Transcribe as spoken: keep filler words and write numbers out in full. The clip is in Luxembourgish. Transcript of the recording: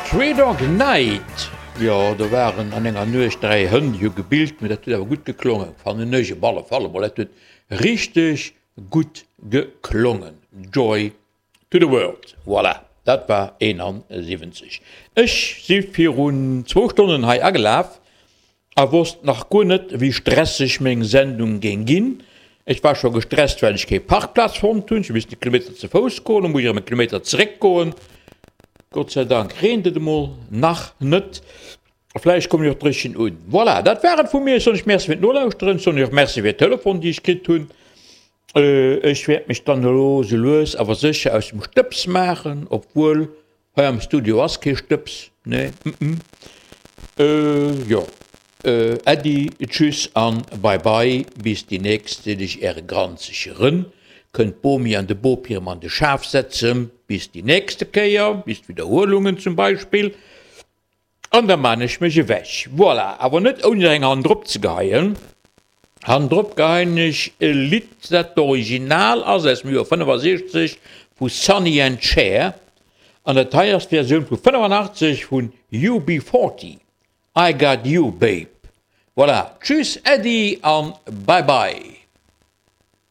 Three Dog Night, jo do waren an enger Nuecht dräi Hënn, déi hu gebillt, mee dat huet awer gutt geklongen, fannen ech op alle Fall emol. Dat huet richteg gutt geklongen. Joy to the World, voilà, dat war eenansiwwenzeg. Ech si virun zwou Stonnen hei agelaf a wosst nach guer net, wéi stresseg meng Sendung géing ginn. Ech war scho gestresst, well ech kee Parkplaz fonnt hunn. Ech hu missen e Kilometer ze Fouss goen, da muss ech erëm e Kilometer zeréck goen. Gott sei Dank reent et emol nach net. A vläicht kommen ech och dréchen un. Voilà, dat war et vu mir. Ech soen iech Merci fir d'Nolauschteren. Ech soen iech och Merci fir d'Telefon, déi ech kritt hunn. Ech wäert mech dann elo sou lues awer sécher aus dem Stëbs maachen, obwuel hei am Studio ass kee Stëbs, nee, mm. Jo, Äddi, tschüss an bye bye, bis déi nächst, seet ech äre granzege Rënn. Kënnt d'Bomi an de Bopi erëm an de Schaf setzen, bis déi nächste Kéier, bis d'Widderhuelungen zum Beispill. An da maan ech mech ewech. Voilà, awer net ouni nach eng Hand drop ze geheien. Hand drop geheien ech e Lidd, dat d'Original ass aus dem Joer fënnefasiechzeg vu Sonny and Cher. An dat hei ass d'Versioun vu fënnefanaachtzeg vun U B forty, I Got You Babe. Voilà, tschüss, Äddi an bye bye.